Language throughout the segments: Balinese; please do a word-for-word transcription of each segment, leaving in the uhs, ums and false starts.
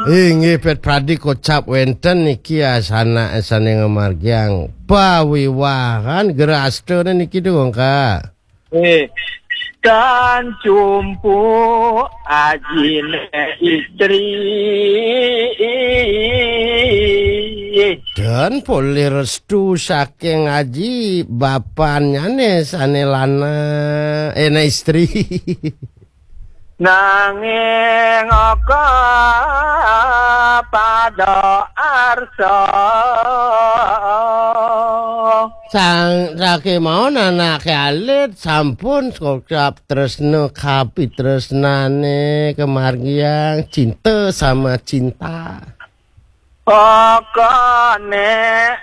Inggih, Pet Pradi kocap wénten niki asanak sané ngamargiang pawiwahan, gerastane niki, Dong, Kak. Eh, tan cumpuk ajine istri. Dan polih restu saking aji bapannyane sane lanang, eh, na istri. Nanging aka pada arsa. Sang, sakémaon anake alit sampun kocap tresna kapitresnane kamargiang cinta sama cinta. Pokone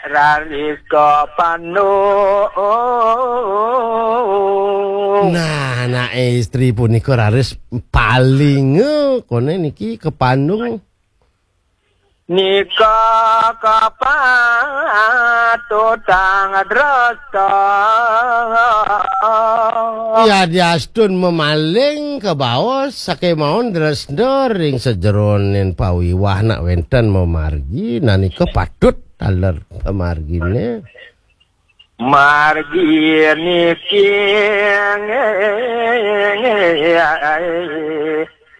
raris kapandung. Nah, anak istri punika raris paling, eh, kone niki kapandung. Nika kapatutang dresta. Yadiastun mamaling kabaos sakémaon dresta ring sajeroning pawiwah nak wénten mamargi, nanika patut taler pamargine. Margi niki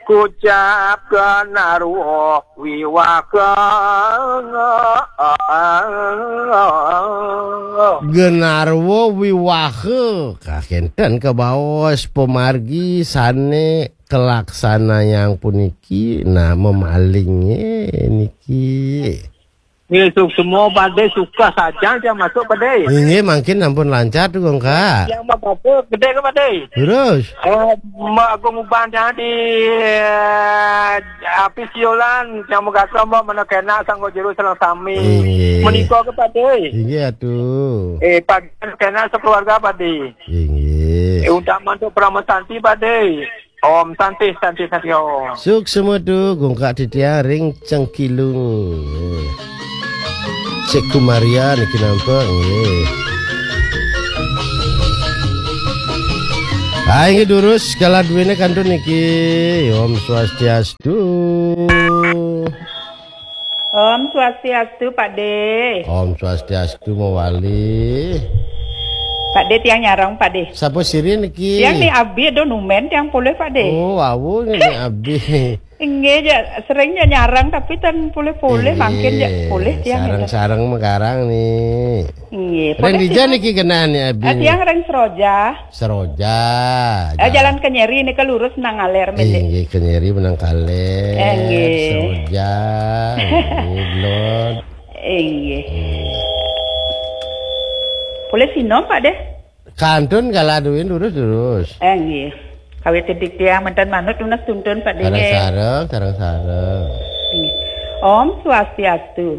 kucap genarwa wiwaha. Genarwa wiwaha, kakenten kabaos pamargi sane kalaksanayang puniki, nah, mamalinge niki. Nggih, suksma, Pak De, suka sajan tiang masuk, Pak De. Inggih, mangkin ampun lancar tuh, Kak. Tiang mabasa gede ke, Pak De? Terus? Eh, Mbak Agung Uban tiang di, eh, Apis Yolan, tiang megasa, Mbak, mana kena sanggo jero sareng sami. Inggih. Menika ke, Pak De. Inggih, atuh. Eh, Pak, kena sekeluarga, Pak De. Inggih. Eh, untuk mantuk Parama Santi, Pak De. Om Santi, Santi, Santi, Om. Suksma tu, gungkak titiang ring Cengkilung. Cek Kumaria niki nampak, nggih. Ah, inggih durus, kala duwene kantun niki. Om Swastiastu. Om Swastiastu, Pak De. Om Swastiastu, mawali. Pak De, tiang nyareng, Pak De. Sapa sira niki? Tiang Ni Abi, do numen tiang polih, Pak De. Oh, wau Ni Abi. Inggih, ja, sering ja nyareng, tapi tan polih-polih, mangkin ja polih tiang sareng-sareng mekarang nih. Inggih, Ring polih dija tiang. Niki kenah Ni Abi? Eh, tiang ring Seroja. Seroja. Eh, jalan Kenyeri nika lurus nang aler, Pak De. Inggih, Kenyeri menang kaler. Eh, nggih. Seroja. Nggih, Lord. Inggih. Polih sinom, Pak De. Kantun kala duwin lurus-lurus. Eh, nggih. Kawit titik tiang mantan manut tunas tuntun, Pak De. Sareng-sareng, sareng-sareng. Inggih. Om Swastiastu.